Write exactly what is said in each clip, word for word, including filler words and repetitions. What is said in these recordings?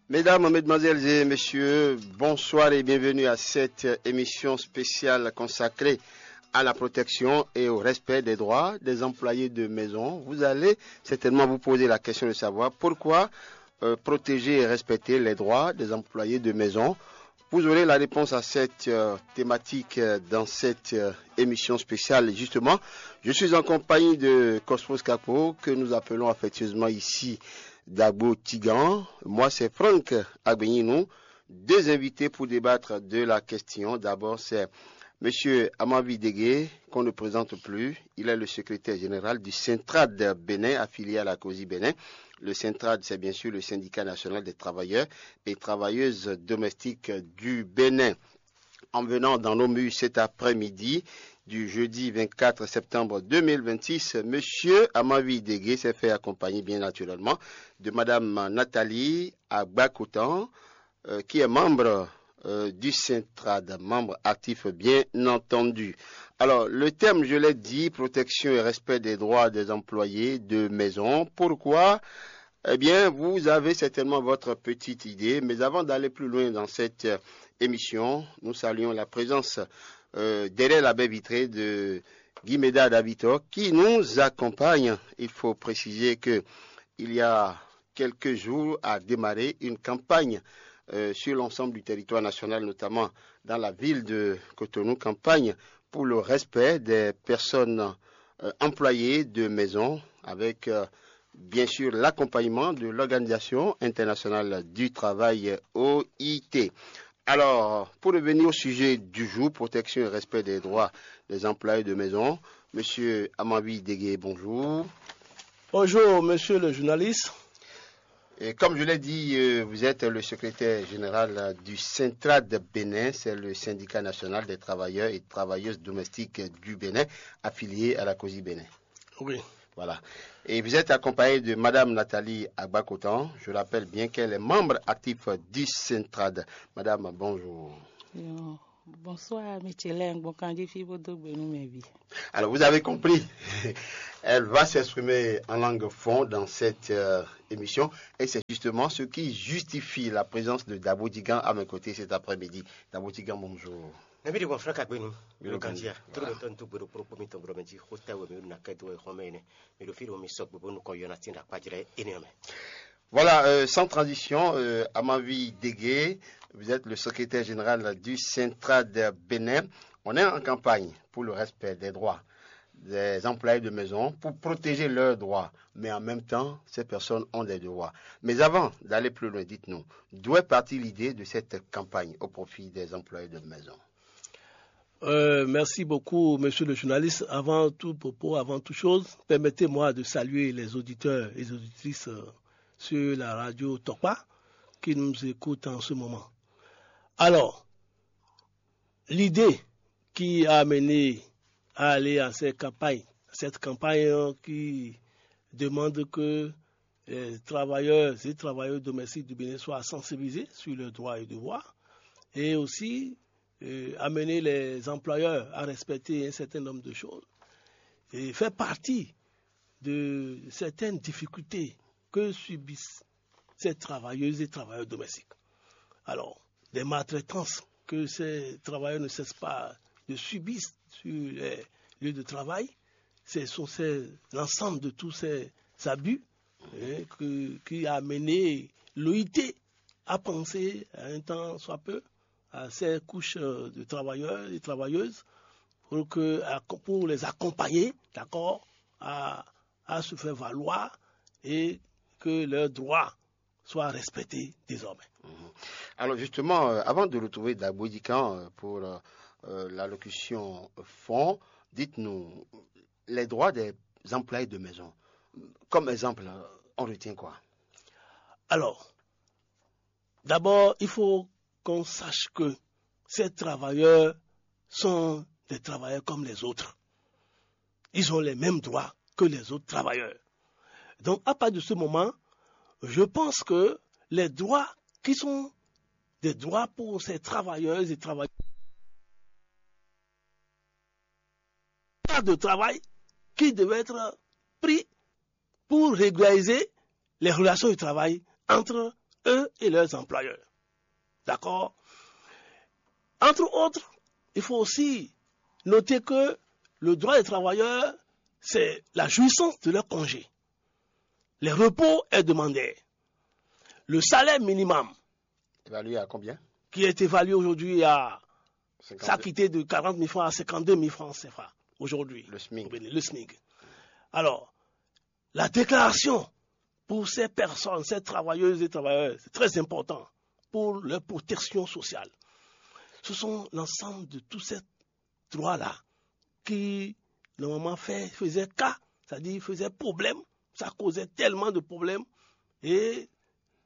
Mesdames, Mesdemoiselles et Messieurs, bonsoir et bienvenue à cette émission spéciale consacrée à la protection et au respect des droits des employés de maison. Vous allez certainement vous poser la question de savoir pourquoi euh, protéger et respecter les droits des employés de maison. Vous aurez la réponse à cette euh, thématique euh, dans cette euh, émission spéciale. Justement, je suis en compagnie de Cosmos Capo, que nous appelons affectueusement ici Dagbo Tigan. Moi, c'est Franck Agbenyinu. Deux invités pour débattre de la question. D'abord, c'est Monsieur Amavi Degué, qu'on ne présente plus. Il est le secrétaire général du Centrad Bénin, affilié à la COSI Bénin. Le Centrad, c'est bien sûr le syndicat national des travailleurs et travailleuses domestiques du Bénin. En venant dans nos murs cet après-midi du jeudi vingt-quatre septembre deux mille vingt-six, Monsieur Amavi Degué s'est fait accompagner bien naturellement de Madame Nathalie Agbakotan, euh, qui est membre euh, du Centrad, membre actif bien entendu. Alors, le thème, je l'ai dit, protection et respect des droits des employés de maison. Pourquoi ? Eh bien, vous avez certainement votre petite idée, mais avant d'aller plus loin dans cette euh, émission, nous saluons la présence euh, derrière la baie vitrée de Guy Médard Davitor qui nous accompagne. Il faut préciser que il y a quelques jours a démarré une campagne euh, sur l'ensemble du territoire national, notamment dans la ville de Cotonou, campagne pour le respect des personnes euh, employées de maison, avec euh, bien sûr l'accompagnement de l'Organisation internationale du travail, O I T. Alors, pour revenir au sujet du jour, protection et respect des droits des employés de maison, Monsieur Amavi Degué, bonjour. Bonjour, monsieur le journaliste. Et comme je l'ai dit, euh, vous êtes le secrétaire général euh, du Centrad Bénin, c'est le syndicat national des travailleurs et travailleuses domestiques du Bénin, affilié à la COSI Bénin. Oui. Voilà. Et vous êtes accompagné de Madame Nathalie Agbakotan. Je rappelle bien qu'elle est membre actif du Centrad. Madame, bonjour. Yo, bonsoir, Michel. Bon, quand j'ai fait votre bonne vie. Alors, vous avez compris. Elle va s'exprimer en langue fon dans cette euh, émission. Et c'est justement ce qui justifie la présence de Dabo Digan à mes côtés cet après-midi. Dabo Digan, bonjour. Nabidi wan fla kagbenu. Milo kanjia. Toro tɔn tu gbero pro pomi tɔn bro meji. Hota we mi na kai do e home ne. Mi do firi mi sok bo nu ko yona tinda kwajire ene me. Voilà, euh, sans transition, euh, Amavi Degué, vous êtes le secrétaire général du Centrad Bénin. On est en campagne pour le respect des droits des employés de maison, pour protéger leurs droits. Mais en même temps, ces personnes ont des devoirs. Mais avant d'aller plus loin, dites-nous, d'où est partie l'idée de cette campagne au profit des employés de maison ? Euh, merci beaucoup, monsieur le journaliste. Avant tout propos, avant toute chose, permettez-moi de saluer les auditeurs et les auditrices euh, sur la radio Tokpa qui nous écoutent en ce moment. Alors, l'idée qui a amené à aller à cette campagne, cette campagne euh, qui demande que les travailleurs et travailleuses domestiques du Bénin soient sensibilisés sur leurs droits et devoirs et aussi euh, amener les employeurs à respecter un certain nombre de choses et fait partie de certaines difficultés que subissent ces travailleuses et travailleurs domestiques. Alors, des maltraitances que ces travailleurs ne cessent pas de subir sur les lieux de travail, ce sont ces- l'ensemble de tous ces abus hein, que- qui a amené l'O I T à penser à un temps soit peu à ces couches euh, de travailleurs et travailleuses pour, que, pour les accompagner, d'accord, à, à se faire valoir et que leurs droits soient respectés désormais. Alors justement, euh, avant de retrouver Dabo Digan euh, pour euh, euh, l'allocution fonds, dites-nous, les droits des employés de maison, comme exemple, euh, on retient quoi ? Alors, d'abord, il faut qu'on sache que ces travailleurs sont des travailleurs comme les autres. Ils ont les mêmes droits que les autres travailleurs. Donc, à partir de ce moment, je pense que les droits qui sont des droits pour ces travailleurs et travailleurs de travail qui devaient être pris pour régulariser les relations de travail entre eux et leurs employeurs. D'accord? Entre autres, il faut aussi noter que le droit des travailleurs, c'est la jouissance de leur congé. Les repos hebdomadaires. Le salaire minimum, Évalué à combien? Qui est évalué aujourd'hui à ça a cinquante-deux. Quitté de quarante mille francs à cinquante-deux mille francs C F A aujourd'hui. Le SMIC. Au Bénin, le SMIC. Alors, la déclaration pour ces personnes, ces travailleuses et travailleurs, c'est très important pour leur protection sociale. Ce sont l'ensemble de tous ces droits-là qui, normalement, fait, faisaient cas, c'est-à-dire faisaient problème, ça causait tellement de problèmes, et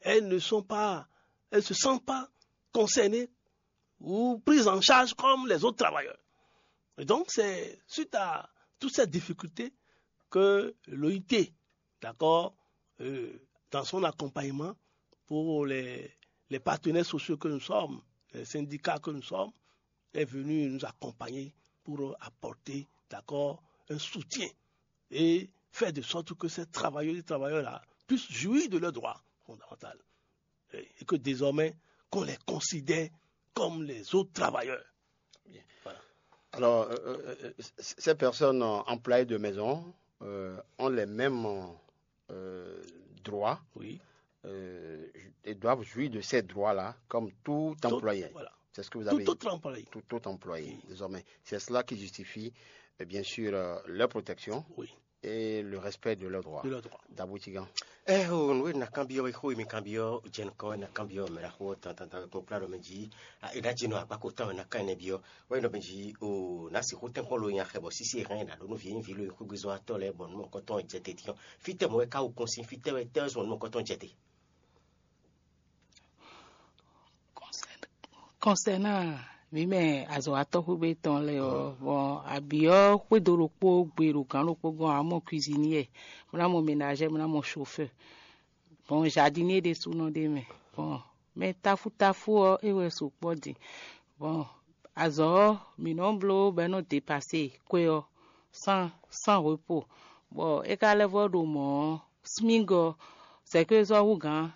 elles ne sont pas, elles ne se sentent pas concernées ou prises en charge comme les autres travailleurs. Et donc, c'est suite à toutes ces difficultés que l'O I T, d'accord, euh, dans son accompagnement pour les, les partenaires sociaux que nous sommes, les syndicats que nous sommes, est venu nous accompagner pour apporter, d'accord, un soutien et faire de sorte que ces travailleurs et travailleurs-là puissent jouir de leurs droits fondamentaux et que désormais qu'on les considère comme les autres travailleurs. Alors, euh, euh, euh, c- ces personnes euh, employées de maison euh, ont les mêmes euh, droits Oui. euh, et doivent jouir de ces droits-là comme tout Tout- employé. Voilà. C'est ce que vous Tout avez dit. Autre employé. Tout, tout employé, désormais. C'est cela qui justifie, euh, bien sûr, euh, leur protection Oui. Et le respect de leurs droits. De leurs droits. Dabou Tigan. Ɛ o, nǔ e na kanbyɔ́ wɛ xó e mi kanbyɔ́ jɛ nukɔn wɛ na kanbyɔ́ mɛ ɖaxó ɔ́ tantanta kpɔ́n kplá ɖɔ mɛ jí. È ɖa jí nɔ agbáko tán wɛ na kan ɛnɛ byɔ́ wɛ nɔ mɛ jí o, na sixú tɛ́nkpɔ́n lo nya xɛ bɔ sísí e hɛn na ɖó nú vǐ vǐ lo xwégbezɔ́ atɔ́ lɛ́ɛ bɔ nú mɔkɔtɔn jɛ te tiɔn. Fítɛ́ mɔ wɛ ka wo kɔn sín? Fítɛ́ wɛ tɛ́ wɛ zɔn nú mɔkɔtɔn jɛ te? Kɔnsɛna mǐ mɛ azɔ̌watɔ́ xwé tɔn lɛ́ɛ ɔ́, vɔn abǐ ɔ́ xwédo ɖokpó gbe ɖo gǎn ɖokpó gɔ́n, ǎ mɔ cuisinier, mlá mɔ ménagère, mlá mɔ chauffeur, vɔn jardinier ɖésúnɔ ɖ'é mɛ, vɔn mɛ táfútáfú ɔ́ é wɛ sukpɔ́ din. Vɔn azɔ̌ ɔ́ mǐ nɔ́ bló bɔ é nɔ́ depase kwɛ ɔ́ san san hwepo, bɔ é ka lɛ́ vɔ́ ɖo mɔ̌ ɔ́, smígɔ sɛ̌kwézɔ́ hú gǎn